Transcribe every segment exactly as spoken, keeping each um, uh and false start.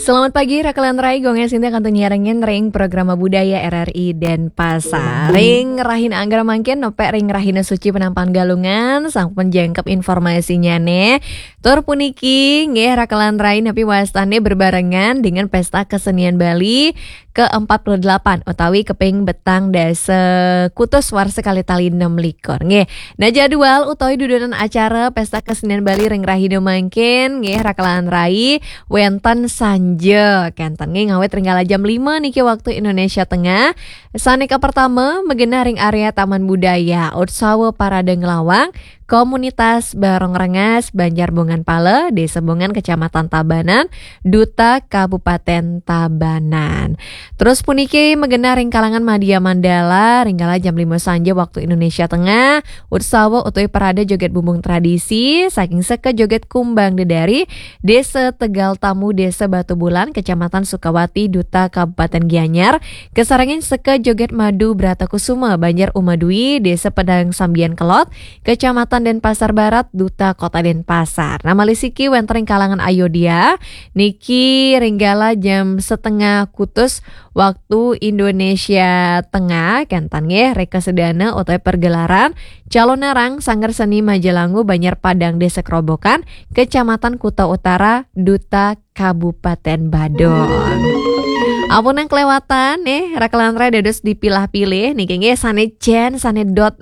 Selamat pagi, Rakelan Rai, Gung Esinti kantun nyarengin ring Programa Budaya R R I Denpasar. Ring rahina anggra mangkin, nepek ring rahina suci Penampakan Galungan, sampun jangkep informasinya nih. Tur puniki, nggih, Rakelan Rai, napi wastane berbarengan dengan Pesta Kesenian Bali ke empat puluh delapan utawi keping petang dasa kutus warsa kalih tali enam likur. Nggih. Nah, jadwal utawi dudonan acara Pesta Kesenian Bali ring rahina mangkin, nggih, Rakelan Rai, wenten sanja, kenten nggih, ngawit ring kala jam lima niki waktu Indonesia Tengah. Sane kapertama, magenah ring area Taman Budaya, Utsawa Parade Nglawang, Komunitas Barong Rengas, Banjar Bongan Pala, Desa Bongan, Kecamatan Tabanan, Duta Kabupaten Tabanan. Terus puniki magenah ring kalangan Madya Mandala, ring kala jam lima sanja waktu Indonesia Tengah, Utsawa utawi Parade Joget Bumbung Tradisi, saking Seka Joget Kumbang Dedari, Desa Tegal Tamu, Desa Batubulan, Kecamatan Sukawati, Duta Kabupaten Gianyar, kasarengin Seka Joget Madu Bratakusuma, Banjar Umadwi, Desa Padang Sambian Kelod, Kecamatan Denpasar Barat, Duta Kota Denpasar. Nah, malih siki wenten ring kalangan Ayodhya, niki ring kala jam setengah kutus waktu Indonesia Tengah, kenten nggih, reka sedana utawi pergelaran calonarang Sanggar Seni Majalangu Banjar Padang Desa Kerobokan, Kecamatan Kuta Utara, Duta Kabupaten Badung. Ampun nang kelewatan nih, Rakelan Rai dados dipilah-pilih niki nggih, sane jen, sane dot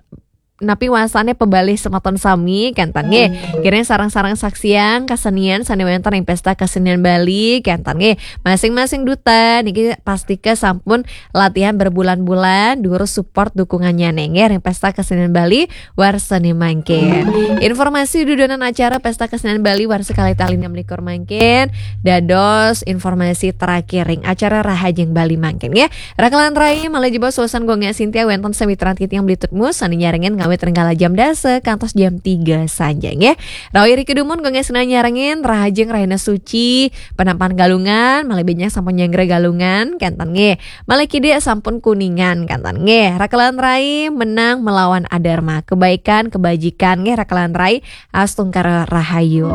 napi wastane pebalih semeton sami, kenten nggih. Kirang sareng-sareng saksiang kesenian sane wenten ring Pesta Kesenian Bali, kenten nggih. Masing-masing duta niki pastika sampun latihan berbulan-bulan, durus support dukungannya nggih ring Pesta Kesenian Bali warsane mangkin. Informasi dudonan acara Pesta Kesenian Bali warsa kalih tali enam likur mangkin dados informasi terakhir ring acara Rahajeng Bali mangkin nggih. Rakelan Rai, malih jebos suasan Gung Esinti wenten sawitran titiang beli tutmu sane nyarengin ngawit ring kala jam dasa kantos jam tiga sanja nggih. Rawi rika dumun Gung Esinti nyarengin rahajeng rahina suci Penampakan Galungan, malih benjang sampun nyanggra Galungan, kenten nggih. Malih kidik sampun Kuningan, kenten nggih. Rakelan Rai, menang melawan adharma, kebaikan, kebajikan nggih, Rakelan Rai, astungkara rahayu.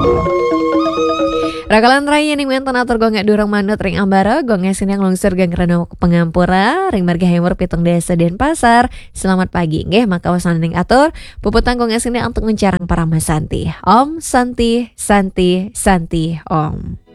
Rakelan Rai, yen wenten atur Gung Ek durung manut ring ambara, Gung Ek sineng lungsur geng rena pangampura ring margi Haimur pitung dasa Denpasar. Selamat pagi nggih, maka wasaning atur puputang Gung Ek sineng antuk nguncarang parama santi. Om Santi, Santi, Santi, Om.